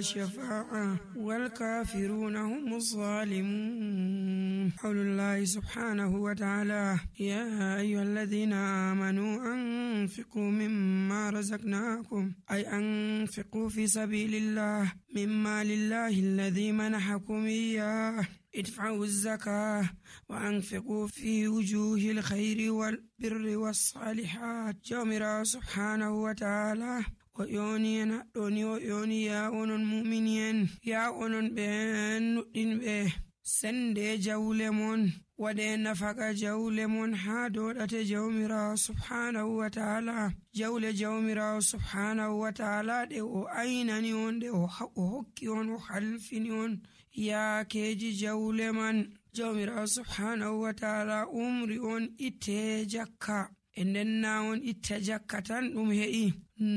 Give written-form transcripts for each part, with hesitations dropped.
شفاعة والكافرون هم الظالمون. قول الله سبحانه وتعالى: يا أيها الذين آمنوا أنفقوا مما رزقناكم، أي أنفقوا في سبيل الله مما لله الذي منحكم إياه، ادفعوا الزكاة وأنفقوا في وجوه الخير والبر والصالحات. جميرا سبحانه وتعالى ويونينا دوني ويوني يا أونن مؤمنين يا أونن بين به سند جولمون ودين نفق جولمون حادودة جومرا سبحانه وتعالى. جول جومرا سبحانه وتعالى دو أيننيون دو حقيون وحلفنيون يا كيجي جولمن. جومرا سبحانه وتعالى أمريون إتجاكا enden nawon itta jakka tan ɗum he'i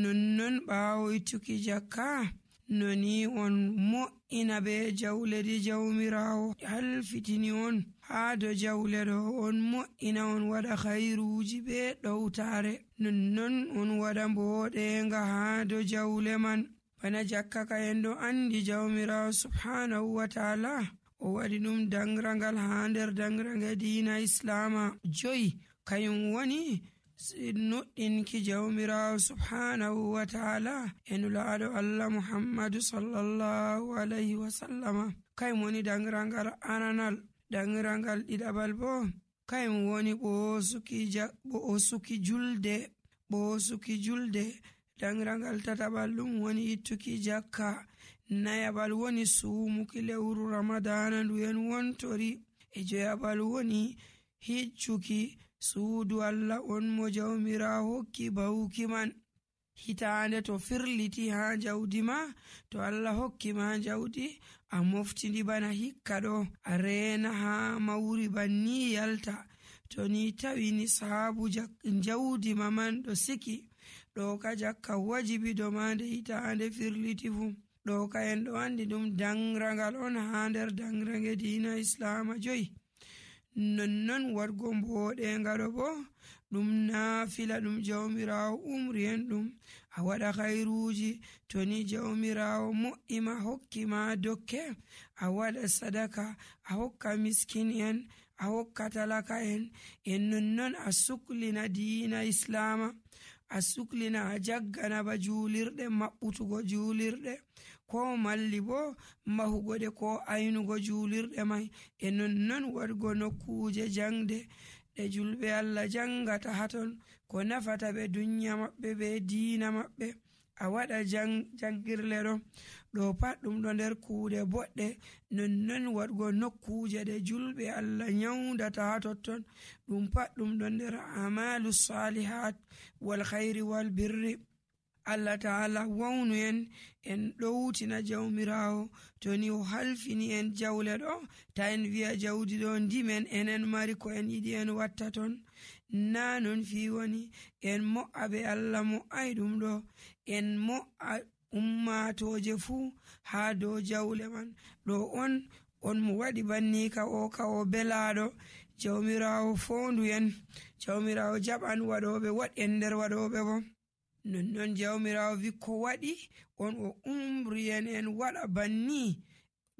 nonnon ɓaawo ittuki jakka noni on mo'ina be jawledi jawmirawo halfitini on haa do jawle ɗo on mo'ina on waɗa khairuji be ɗowtare nonnon on waɗa mboɗenga haa do jawle man bana jakka ka en ɗo andi jawmirawo subhanahu wa ta'ala o waɗi ɗum dangrangal haa nder dangrange diina islama joyi kayum woni noɗɗinki jawmirawo subhanahu wa ta'ala enulaaɗo Allah Muhammadu sallallahu alayhi wa sallama. kayum woni dangrangal ananal. dangrangal ɗiɗaɓal bo kayum woni ɓoosuki julde. dangrangal tataɓal ɗum woni ittuki jakka. nayaɓal woni suumuki lewru ramadana nduyen wontori. e joyaɓal woni hiccuki suudu Allah on mo jawmirawo hokki bawuki man. hitaande to firliti haa jawdi ma, to Allah hokki ma jawdi a moftindi bana hikka ɗo a reena haa mawri banni yalta. to ni tawi ni saabu jawdi ma man ɗo siki ɗo ka jakka wajibi do ma nde hitaande firliti fu. ɗo ka en ɗo andi ɗum dangrangal on haa nder dangrange diina islama joyi. nonnon wargo mboɗenga ɗo bo ɗum naafila ɗum jawmirawo umri en ɗum a waɗa khairuji. to ni jawmirawo mo'ima hokki ma dokke a waɗa sadaka a hokka miskin en a hokka talaka en nonnon a suklina diina islama a suklina a jaggana ba juulirɗe maɓɓutugo juulirɗe ko malli bo mahugo ɗe ko aynugo juulirɗe mai e nonnon waɗgo nokkuje jangde ɗe julɓe Allah jangata haton ko nafata ɓe dunya maɓɓe be diina maɓɓe. a waɗa jangirle ɗo pat ɗum ɗo nder kuuɗe boɗɗe. nonnon waɗgo nokkuje ɗe julɓe Allah nyawdata ha totton ɗum pat ɗum ɗo nder amalu salihat wal khayri wal birri. Allah ta'ala wawnu en ɗowtina jawmirawo to ni o halfini en jawle ɗo ta en wi'a jawdi ɗo ndimen enen mari ko en yiɗi en watta ton. na non fi woni en mo'a be Allah mo'ay ɗum ɗo en mo'a ummatoje fuu haa dow jawle man. ɗo on mo waɗi banni ka o belaɗo. jawmirawo fondu en jawmirawo jaɓan waɗoɓe waɗen nder waɗoɓe bo. nonnon jawmirawo wi ko waɗi on o umri en waɗa banni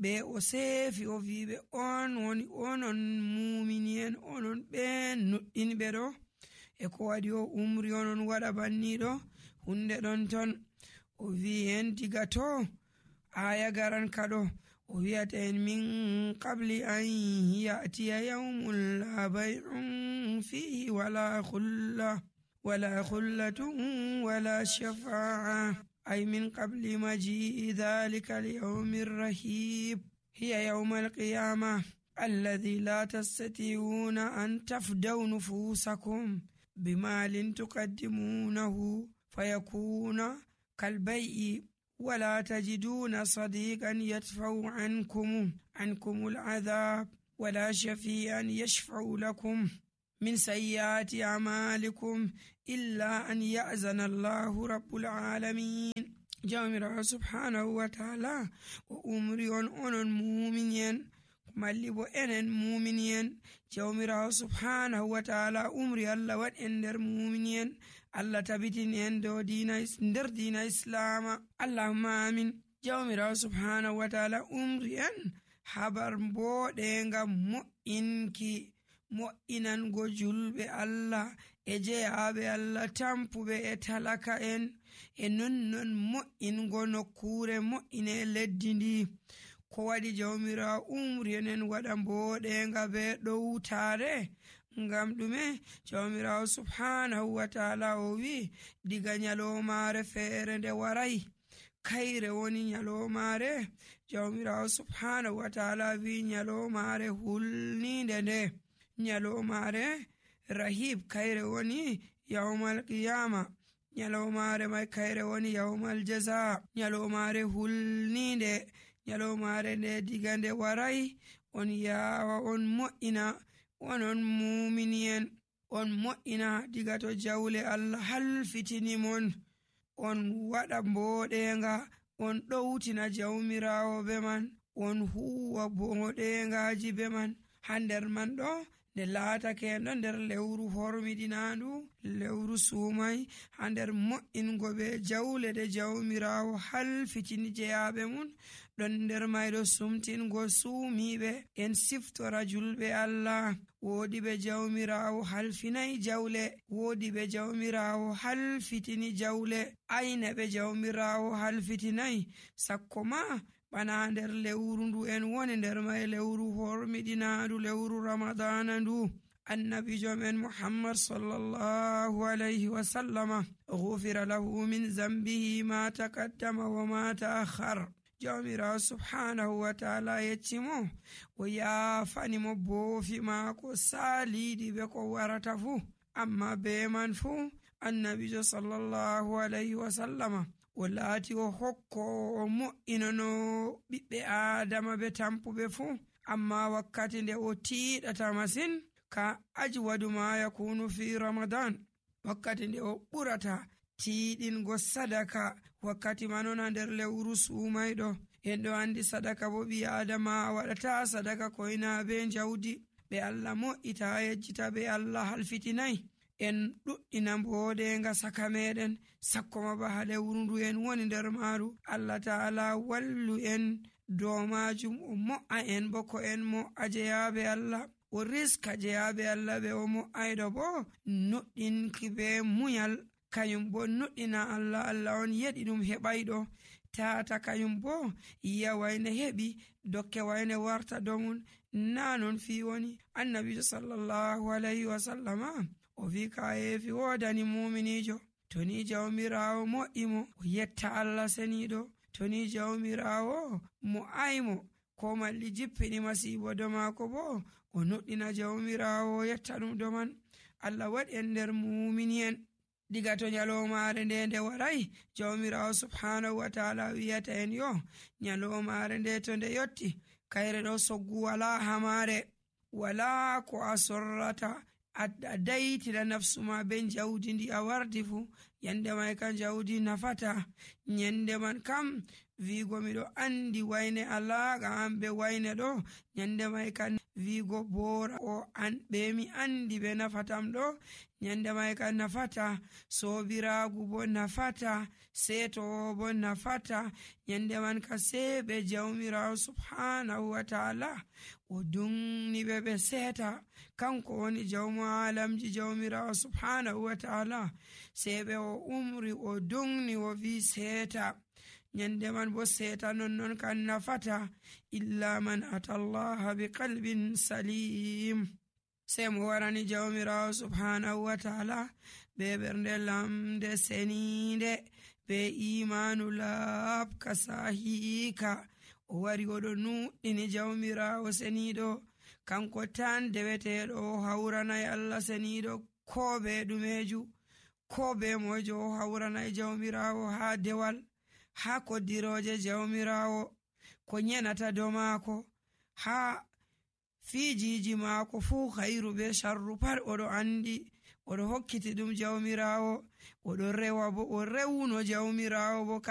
ɓe o seefi o wiɓe on woni onon mumini en onon ɓen nuɗɗinɓe ɗo e ko waɗi o umri onon waɗa banni ɗo hunde ɗon ton. o wi en diga to aya garan kaɗo o wi'ata en min qabli an ya'tiya yawmun la bay'un fihi wala khullatun wala shafa'a ay min qabli maji'i dhalika al-yawmi ar-rahib hiya yawm al-qiyamah alladhi la tastati'una an tafdaw nufusakum bimalin tuqaddimunahu fayakuna kalbay'i ولا تجدون صديقا يدفع عنكم العذاب ولا شفيعا يشفع لكم من سيئات أعمالكم إلا أن يأذن الله رب العالمين. جامرا سبحانه وتعالى وأمري أن مؤمنين مالبو enen mu'minin jawmirawo subhanahu wa ta'ala umri Allah wat en nder mu'minin Allah tabitin en do nder dina islama. Allahumma amin. jawmirawo subhanahu wa ta'ala umri en habar mboɗenga mo'inango julɓe Allah e jeyaɓe Allah tampuɓe e talaka en e nonnon mo'ingo nokkure mo'ine leddi ndi. ko waɗi jawmirawo umri en waɗa mboɗenga be ɗowtare ngam ɗume? jawmirawo subhanahu wa ta'ala o wi diga nyalomare feere nde warai kayre woni nyalomare. jawmirawo subhanahu wa ta'ala wi nyalomare hulninde nde nyalomare rahib kayre woni yawmal qiyama. nyalomare mai kayre woni yawmal jaza. nyalomare hulninde nyalomare nde diga nde warai on yawa on mo'ina onon mumini'en on mo'ina diga to jawle Allah halfitini mon on waɗa mboɗenga on ɗowtina jawmirawo be man on huwa mboɗengaji be man ha nder man ɗo nde laatake ɗo nder lewru hormidinandu lewru sumai ha nder mo'ingo be jawle de jawmirawo halfitini jeyaɓe mun ɗon nder mayɗo sumtingo suumiɓe en siftora julɓe Allah. woodi ɓe jawmirawo halfinayi jawle, woodi ɓe jawmirawo halfitini jawle, ayne ɓe jawmirawo halfitinayi sakko ma bana nder lewru ndu en woni nder may lewru hormiɗinandu lewru ramadana ndu. annabijo men muhammad sallallahu alayhi wa sallama ghufira lahu min zambihi ma taqaddama wa ma ta'akhkhar. jawmirawo subhanahu wa ta'ala yeccimo o yaafani mo boofi maako saaliɗi be ko warata fuu. amma be man fuu annabijo sallallahu alayhi wa sallama o laati o hokko o mo'inano ɓiɓɓe adama be tampuɓe fuu. amma wakkati nde o tiiɗata masin ka ajwadu ma yakunu fi ramadan, wakkati nde o ɓurata tiiɗingo sadaka wakkati manona nder lewru sumayɗo. en ɗo andi sadaka bo ɓi adama waɗata sadaka koyna be jawdi ɓe Allah mo'ita yejjita ɓe Allah halfitinayi. en ɗuɗɗina mboɗenga saka meɗen sakkoma ba ha lewru ndu en woni nder maru. Allah ta'ala wallu en dow majum o mo'a en bo ko en mo'a jeyaɓe Allah, o riska jeyaɓe Allah ɓe o mo'ayɗo bo nuɗɗinki be muyal. kayum bo nuɗɗina Allah, Allah on yeɗi ɗum heɓayɗo. tata kayum bo yiya wayne heɓi dokke wayne warta domum na non fi woni. annabijo sallallahu alayhi wa sallama o wi ka yeefi wodani muminijo to ni jawmirawo mo'imo o yetta Allah seniɗo, to ni jawmirawo mo aymo ko malli jippini masibo do mako bo o nuɗɗina jawmirawo yetta ɗum do man. Allah waɗi en nder muminien diga to nyalomare nde warai jawmirawo subhanahu wa ta'ala wiyata en yo nyalomare nde to nde yotti kayre ɗo soggu wala hamare, wala ko a sorrata a daytira nafsu ma be jawdi ndi a wardi fu. yande mai kan jawdi nafata. nyande man kam vigo miɗo andi wayne Allah ga an be wayne ɗo nyande mai kan vigo bora o an ɓe mi andi be nafatam ɗo nyande mai kan nafata. sobiragu bo nafata, seto bo nafata. nyande man ka sebe jawmirawo subhanahu wa ta'ala o dungni ɓe seta. kanko woni jawmu alamji jawmirawo subhanahu wa ta'ala sebe o umri o dungni o vi seta. nyande man bo seta non kan nafata illa man atallaha bi qalbin salim. sai mo warani jawmirawo subhanahu wa ta'ala be bernde lamde seninde be imanu labka sahika. o wari oɗo nuɗɗini jawmirawo seniɗo kanko tan deweteɗo o hawranayi Allah seniɗo ko be ɗumeju ko be mojo o hawranayi jawmirawo ha dewal ha koddiroje jawmirawo ko nyenata do mako ha fijiji mako fuu khairu be sharru pat oɗo andi. oɗo hokkiti ɗum jawmirawo, oɗo rewa bo o rewno jawmirawo bo